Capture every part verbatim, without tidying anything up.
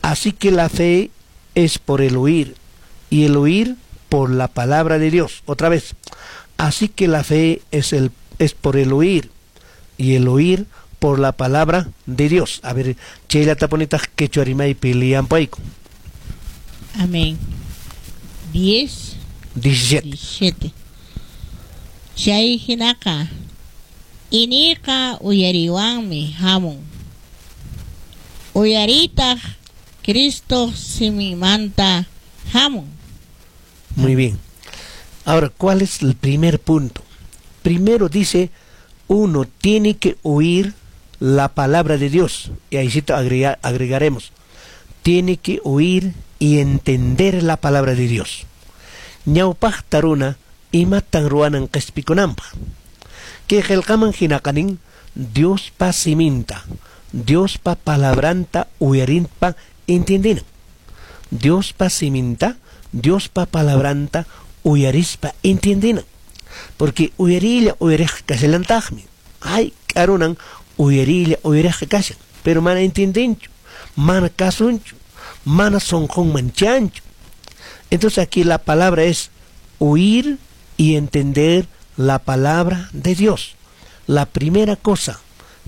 Así que la fe es por el oír, y el oír por la palabra de Dios. Otra vez. Así que la fe es, el, es por el oír, y el oír por la palabra de Dios. A ver, chayllatapunitaq quechua rimaypi leyampayku. Amén. diez, diecisiete. diecisiete. Chay hinaqa iñiyqa uyariywanmi hamun. Uyariytaq Cristo siminmanta hamun. Muy bien. Ahora, ¿cuál es el primer punto? Primero dice, uno tiene que oír la palabra de Dios. Y ahí sí agrega, agregaremos. Tiene que oír y entender la palabra de Dios. Ñawpaqta runa imatan ruwanan qespikunanpaq. Kay qillqaman hinaqa nin Diospa siminta, Diospa palabranta uyarispa entiendinan. Diospa siminta, Diospa palabranta uyarispa entiendinan. Porque uyariylla uyariq kashallantaqmi. Hayk'a runan uyariylla uyariq kashan, pero mana entiendenchu, mana kasunchu, mana sunqunman chanchu. Entonces aquí la palabra es oír y entender la palabra de Dios. La primera cosa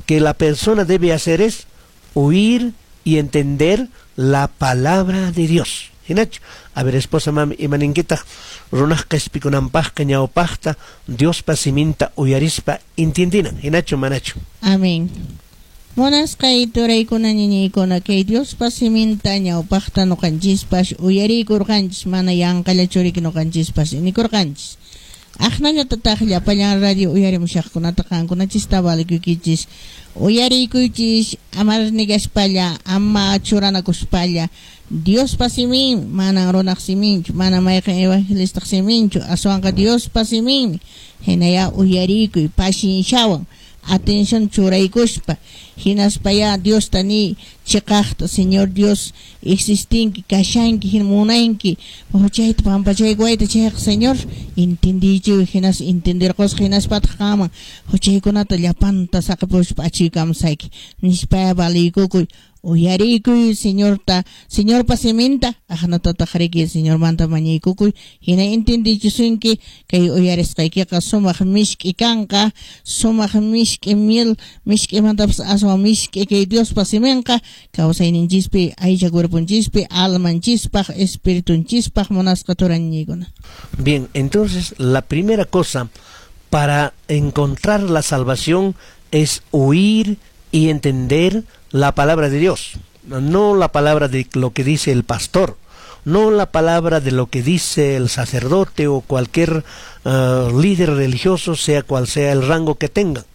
que la persona debe hacer es oír y entender la palabra de Dios. Hinachu? A ver, esposa mami, imaninkitaq runaq qespikunanpaqqa ñawpaqta Diospa siminta uyarispa entiendinan. Hinachu manachu? Amén. Munasqay turaykuna ñañaykuna kay Diospa siminta ñawpaqta ñuqanchispas uyariykurqanchis mana yanqallachu riki ñuqanchispas inikurqanchis. Aqnallatataq llapallan radio uyarimushaqkunata qankunachista valikuykichis uyariykuychis ama negaspalla ama churanakuspalla Diospa simin manan runaq siminchu mana mayqin evangelistaq siminchu aswanqa Diospa siminmi hinaya uyariykuy pacienciawan atención churaykuspa hinaspaya Diosta ni chiqaqta Señor Dios existinki kashanki hin munanki huchayta pampachaykuwayta chayqa Señor entendiychiy hinas entenderqusqa hinaspataq qanman huchaykunata llapanta saqipuspa achiykamusayki nispaya valiykukuy uyariykuy Señorta Señorpa siminta aqnatataq riki Señormanta mañaykukuy hina entendichisunki kay uyarisqaykiqa sumaq mishk'i kanqa sumaq mishk'i miel mishk'imantapas aswan mishk'i kay Diospa siminqa kawsayninchispi aycha cuerponchispi almanchispaq espiritunchispaq munasqa turañiykuna. Bien, entonces la primera cosa para encontrar la salvación es oír y entender la palabra de Dios, no la palabra de lo que dice el pastor, no la palabra de lo que dice el sacerdote o cualquier uh, líder religioso, sea cual sea el rango que tenga.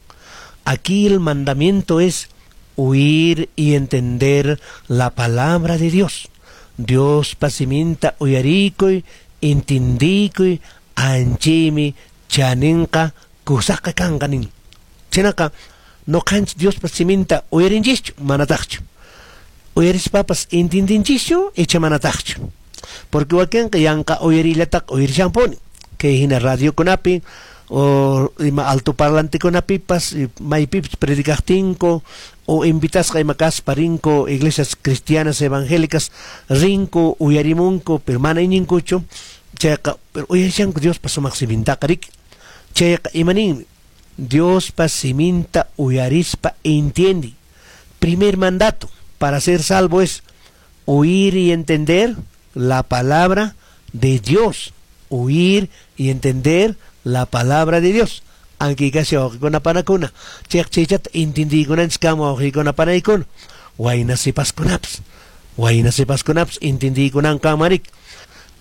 Aquí el mandamiento es oír y entender la palabra de Dios. Diospa siminta uyarikuy, entendikuy, anchaymi chaninqa kusaqa kanqa nin. Chhaynaqa ñuqanchis Diospa siminta uyarinchischu manataqchu. Uyarispapas entiendenchischu icha manataqchu. Porque wakinqa yanqa uyariyllataqa uyarishanpuni. Kay hina radiokunapi o ima altoparlantekunapipas maypipas predicaqtinku o invitasqa ima kaspa rinku iglesias cristianas evangélicas rinku uyarimunku pero mana iñinkuchu chayqa pero uyarishanku Diospa sumaq simintaqa riki. Chayqa imaninmi Diospa siminta uyarispa entiende. Primer mandato para ser salvo es oír y entender la palabra de Dios. Oír y entender la palabra de Dios. Aunque casi wawqikuna panakuna chayqa chaychata entendiykunanchis kama wawqikuna panaykuna wayna sipaskunapas wayna sipaskunapas entendiykunan kama riki.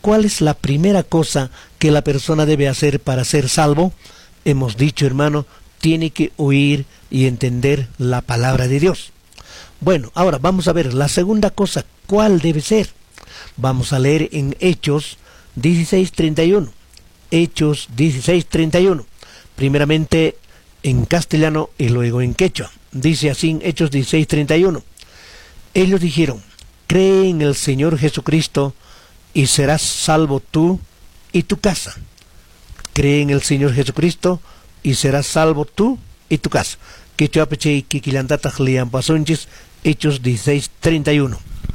¿Cuál es la primera cosa que la persona debe hacer para ser salvo? Hemos dicho, hermano, tiene que oír y entender la palabra de Dios. Bueno, ahora vamos a ver la segunda cosa, ¿cuál debe ser? Vamos a leer en Hechos dieciséis treinta y uno. Hechos dieciséis treinta y uno. Primeramente en castellano y luego en quechua. Dice así en Hechos dieciséis treinta y uno. Ellos dijeron: cree en el Señor Jesucristo y serás salvo tú y tu casa. Cree en el Señor Jesucristo y serás salvo tú y tu casa. Quechuapi chay kikillantataq liyanpasunchis Hechos dieciséis treinta y uno.